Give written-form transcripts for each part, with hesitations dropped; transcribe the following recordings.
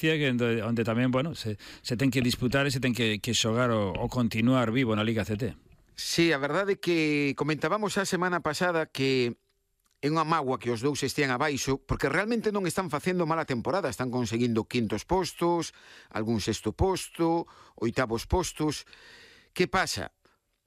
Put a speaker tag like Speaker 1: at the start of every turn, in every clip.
Speaker 1: Galicia, onde tamén, bueno, se ten que disputar e se ten que xogar o continuar vivo na Liga ACT.
Speaker 2: Sí, a verdade é que comentábamos a semana pasada que é unha mágoa que os dous estean abaixo, porque realmente non están facendo mala temporada, están conseguindo quintos postos, algún sexto posto, oitavos postos. Que pasa?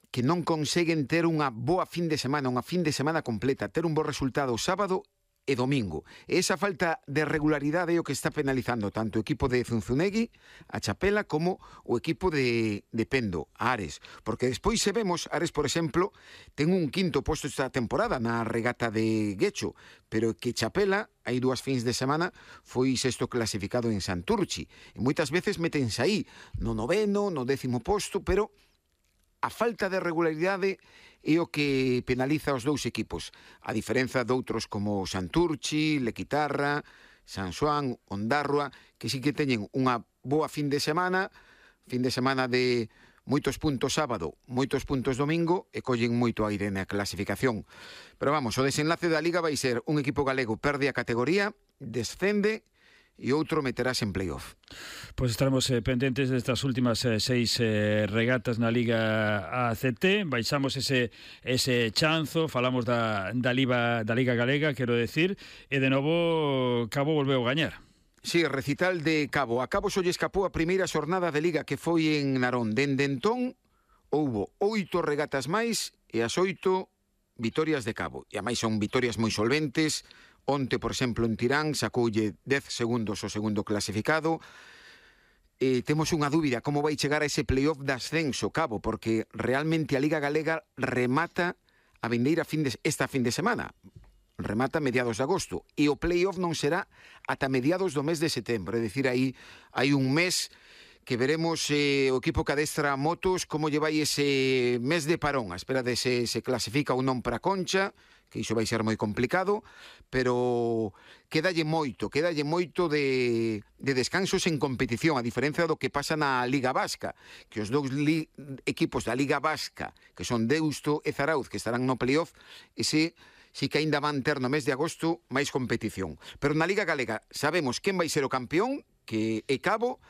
Speaker 2: Que non conseguen ter unha boa fin de semana, unha fin de semana completa, ter un bo resultado sábado e domingo. E esa falta de regularidade é o que está penalizando tanto o equipo de Zunzunegui, a Chapela, como o equipo de Pendo, a Ares. Porque despois se vemos, Ares, por exemplo, ten un quinto posto esta temporada na regata de Guecho, pero que Chapela, hai 2 fins de semana, foi sexto clasificado en Santurchi. E moitas veces metense aí, no 9º, no 10º posto, pero a falta de regularidade é o que penaliza os dous equipos, a diferenza de outros como Santurchi, Lequitarra, San Xoán, Ondarroa, que sí que teñen unha boa fin de semana de moitos puntos sábado, moitos puntos domingo, e collen moito aire na clasificación. Pero vamos, o desenlace da Liga vai ser un equipo galego perde a categoría, descende, e outro meterás en playoff.
Speaker 1: Pois estaremos pendentes destas últimas 6 regatas na Liga ACT. Baixamos ese chanzo, falamos da Liga Galega, quero decir, e de novo Cabo volveu a gañar.
Speaker 2: Sí, recital de Cabo. A Cabo só lle escapou a primeira xornada de Liga, que foi en Narón. Dende entón, houbo 8 regatas máis e as 8 vitorias de Cabo. E a máis son vitorias moi solventes. Onte, por exemplo, en Tirán sacoulle 10 segundos o segundo clasificado. Temos unha dúbida, como vai chegar a ese playoff de ascenso, Cabo, porque realmente a Liga Galega remata a vindeira esta fin de semana. Remata a mediados de agosto. E o playoff non será ata mediados do mes de setembro. É dicir, aí hai un mes que veremos o equipo que adestra motos como lle vai ese mes de parón, a espera de se clasifica ou non para a Concha, que iso vai ser moi complicado, pero quedalle moito de descansos en competición, a diferencia do que pasa na Liga Vasca, que os dous equipos da Liga Vasca, que son Deusto e Zarauz, que estarán no playoff, ese sí que aínda van ter no mes de agosto máis competición. Pero na Liga Galega sabemos quen vai ser o campeón, que é Cabo.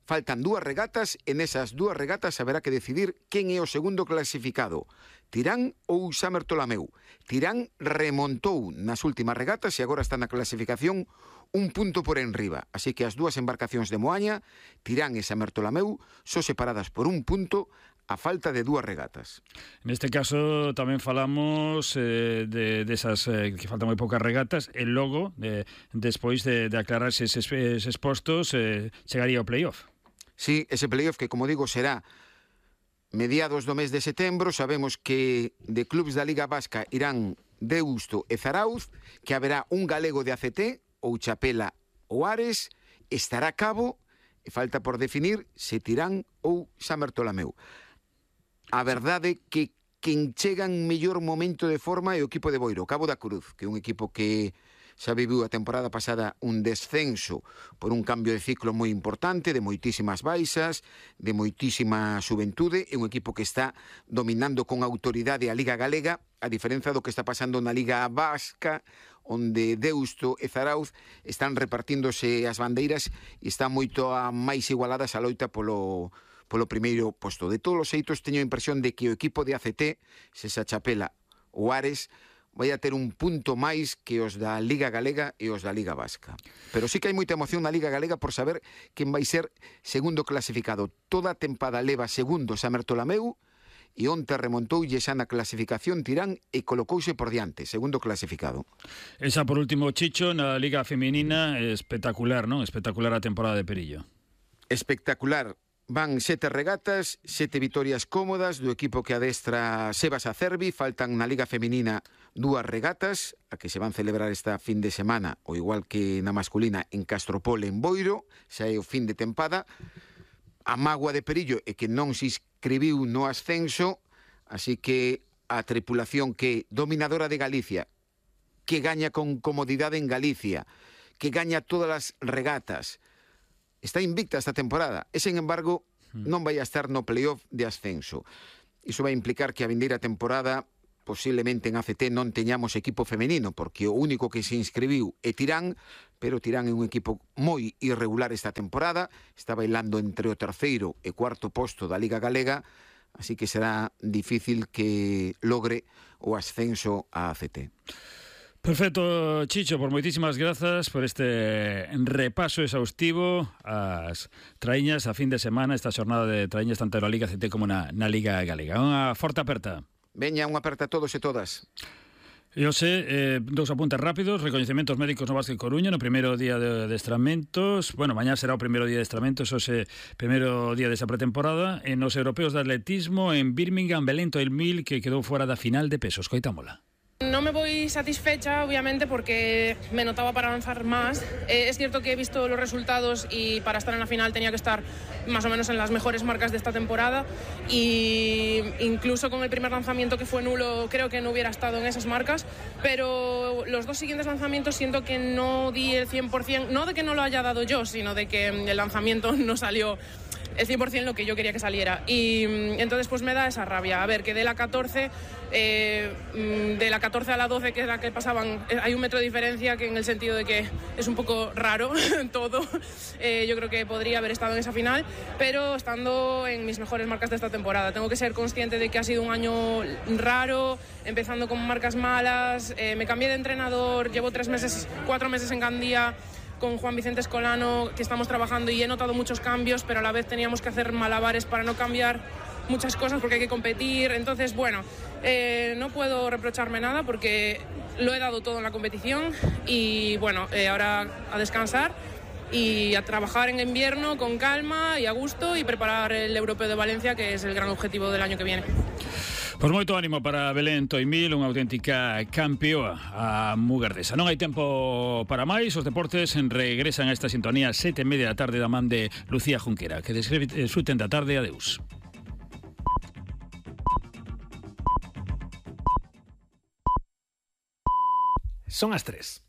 Speaker 2: Faltan 2 regatas, e nesas 2 regatas haberá que decidir quen é o segundo clasificado, Tirán ou San Bertolameu. Tirán remontou nas últimas regatas e agora está na clasificación un punto por enriba. Así que as 2 embarcacións de Moaña, Tirán e San Bertolameu, son separadas por un punto a falta de 2 regatas.
Speaker 1: Neste caso tamén falamos desas que faltan moi poucas regatas, e logo, despois de aclararse eses postos, chegaría ao playoff.
Speaker 2: Sí, ese playoff que, como digo, será mediados do mes de setembro. Sabemos que de clubes da Liga Vasca irán Deusto e Zarauz, que haberá un galego de ACT, ou Chapela ou Ares, estará Cabo, e falta por definir se Tirán ou San Bertolameu. A verdade que quen chega en mellor momento de forma é o equipo de Boiro, Cabo da Cruz, que é un equipo que xa viviu a temporada pasada un descenso por un cambio de ciclo moi importante, de moitísimas baixas, de moitísima xuventude. É un equipo que está dominando con autoridade a Liga Galega, a diferenza do que está pasando na Liga Vasca, onde Deusto e Zarauz están repartíndose as bandeiras e están moito máis igualadas a loita polo primeiro posto. De todos os xeitos, teño a impresión de que o equipo de ACT, se esa Chapela ou Ares, vai a ter un punto máis que os da Liga Galega e os da Liga Vasca. Pero sí que hai moita emoción na Liga Galega por saber quen vai ser segundo clasificado. Toda a tempada leva segundo San Bertolameu, e onte remontoulle xa na clasificación Tirán e colocouse por diante, segundo clasificado.
Speaker 1: Esa por último, Chicho, na Liga Feminina, espectacular, non? Espectacular a temporada de Perillo.
Speaker 2: Espectacular. Van 7 regatas, 7 vitorias cómodas do equipo que adestra Sebas Acerbi. Faltan na Liga Feminina 2 regatas, a que se van celebrar esta fin de semana, o igual que na masculina en Castropol, en Boiro, xa é o fin de tempada. A mágoa de Perillo é que non se inscribiu no ascenso, así que a tripulación que dominadora de Galicia, que gaña con comodidade en Galicia, que gaña todas as regatas, está invicta esta temporada, e, sen embargo, non vai a estar no playoff de ascenso. Iso vai implicar que a vindeira temporada posiblemente en ACT non teñamos equipo femenino, porque o único que se inscribiu é Tirán, pero Tirán é un equipo moi irregular esta temporada, está bailando entre o terceiro e cuarto posto da Liga Galega, así que será difícil que logre o ascenso a ACT.
Speaker 1: Perfecto, Chicho, por moitísimas grazas por este repaso exhaustivo ás traíñas a fin de semana, esta xornada de traíñas tanto na Liga CT como na Liga Galega. Unha forte aperta.
Speaker 2: Veña, unha aperta a todos e todas.
Speaker 1: Eu sei, dous apuntes rápidos, recoñecementos médicos no Básquet Coruña no primeiro día de adestramentos, bueno, mañá será o primeiro día de adestramentos, ose primeiro día desa pretemporada, en os europeos de atletismo en Birmingham, Belén 2000, que quedou fora da final de pesos. Coitámola.
Speaker 3: No me voy satisfecha, obviamente, porque me notaba para avanzar más. Es cierto que he visto los resultados y para estar en la final tenía que estar más o menos en las mejores marcas de esta temporada, y incluso con el primer lanzamiento, que fue nulo, creo que no hubiera estado en esas marcas, pero los dos siguientes lanzamientos siento que no di el 100%, no de que no lo haya dado yo, sino de que el lanzamiento no salió el 100% lo que yo quería que saliera, y entonces pues me da esa rabia. A ver, que de la 14 a la 12, que es la que pasaban, hay 1 metro de diferencia, que en el sentido de que es un poco raro todo. Yo creo que podría haber estado en esa final, pero estando en mis mejores marcas de esta temporada. Tengo que ser consciente de que ha sido un año raro, empezando con marcas malas, me cambié de entrenador, llevo 4 meses en Gandía con Juan Vicente Escolano, que estamos trabajando, y he notado muchos cambios, pero a la vez teníamos que hacer malabares para no cambiar muchas cosas porque hay que competir. Entonces, bueno, no puedo reprocharme nada porque lo he dado todo en la competición, y bueno, ahora a descansar y a trabajar en invierno con calma y a gusto, y preparar el Europeo de Valencia, que es el gran objetivo del año que viene.
Speaker 1: Pois moito ánimo para Belén Toimil, unha auténtica campeoa a mugardesa. Non hai tempo para máis, os deportes regresan a esta sintonía 7:30 da tarde da man de Lucía Junquera. Que desfruten da tarde, adeus.
Speaker 4: Son as 3.